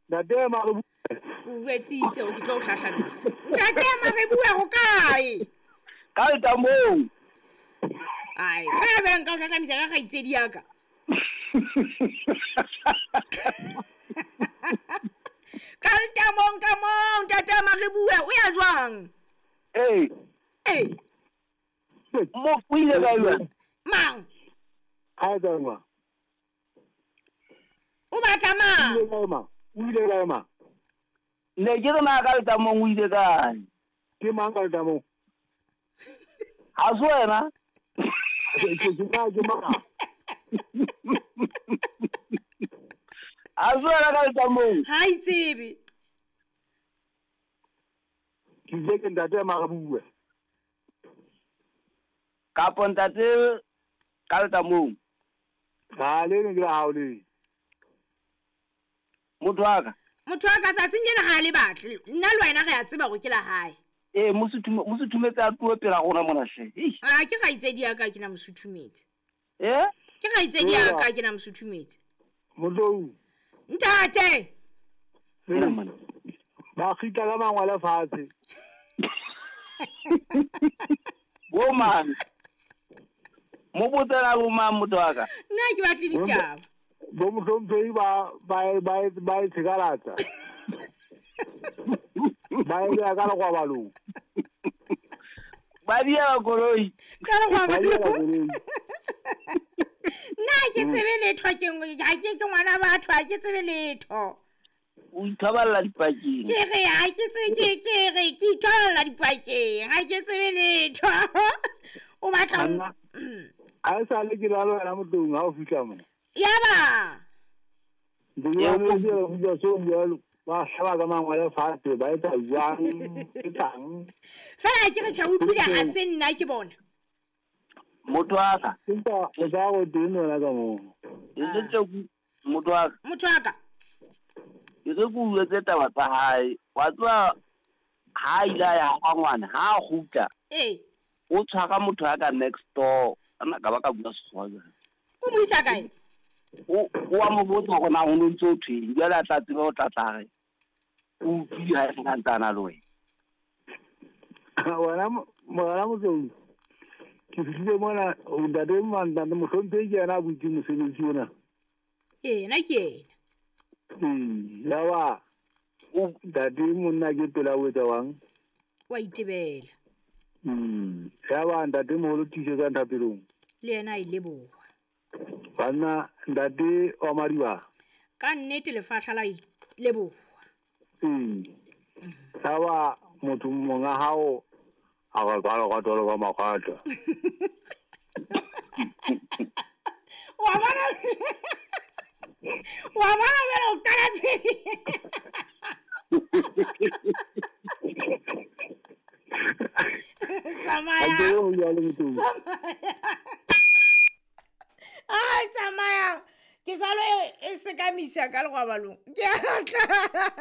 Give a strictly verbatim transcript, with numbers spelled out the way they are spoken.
Ntate Marebue. O jwetsitse hore ke tlo o hlahlamisa. Ntate Marebue ho kae? Ka letamong. Ai, fela be nka o hlahlamisa ka kgaitsedi ya ka. Ka letamong ka moo, ntate Marebue, o ya jwang? Ee. Ee. Mo o ile kae jwale? Mang? Ha e kae ma? O batla mang? O ile kae ma? O ile kae ma? Ne ke re na ka letamong o ile kae? Ke mang ka letamong? Ha se wena? Ke ke mang ke mang? Ha se wena ka letamong? Ha itsebe. Ke ile ke ntate Marebue. Kapo ntate ka letamong. Ha le ne ke la hao le. Motho wa ka. Motho wa ka tsatsing lena ha le batle. Nna le wena re a tseba hore ke la hae. Ee, mosuthumetse a tlohe pela rona mona hle. Ah, ke kgaitsedi ya ka ke na mosuthumetse. Eh? Ke kgaitsedi ya ka ke na mosuthumetse. Motlou. Ntate. Ba kgitla ka mangwele fatshe. Bo mang? Mo botsela bo mang motho wa ka? Nna ke batle ditaba. Bo mohlomphehi ba ba ba ba e tshekalatsa. Ba e beha ka lekwabalong. Ba diela koloi. Ka lekwabalong. Nna ha ke tsebe letho ke ha ke ke ngwana batho ha ke tsebe letho. O ithoballa dipakeng. Ke re ha ke tsebe ke ke re ke ithoballa dipakeng ha ke tsebe letho. O batla ha e sale ke la le wena motlong ha o fihla mona. Yaba. Ba hlaba ka mangwele fatshe ba etsa jwang ke tlang. Fela ke re tjha utlwile ha se nna ke bona. Motho wa ka. Empa o tla go teng wena ka moo. E se tse motho wa ka. Motho wa ka. Ke re ke utlwetse taba tsa hae. Wa tswa ha ile ya ha ngwana ha a kgutla. Ee. O tshwara motho wa ka next door. Ana ka ba ka bua Sekgowa jwale. O mo isa kae? O o a mo botsa hore na ho no ntso thweng. Jwale a tla tseba o tla tla re o utlwile ha e sa ntsana le wena. Wena wena Motlou. Ke fihlile mona ntate ntate mohlomphehi ke yena a butseng mosebetsi ona. Ee, na ke yena. Ee, yaba ntate monna ke pela o etsa wang? Wa itebela. Mm, yaba ntate moholo tiisetsa thapelong. Le yena a e leboha. Banna ntate wa Madiba. Ka nnete lefahla la leboha. Mm. Yaba motho monga hao a ka ka ka tolo ka makgata. Wa bona. Wa bona bela o qala tse. Tsamaya. Tsamaya. Ai, tsamaya. Ke salo e sekamisa ka lekwabalong. Ke a tla.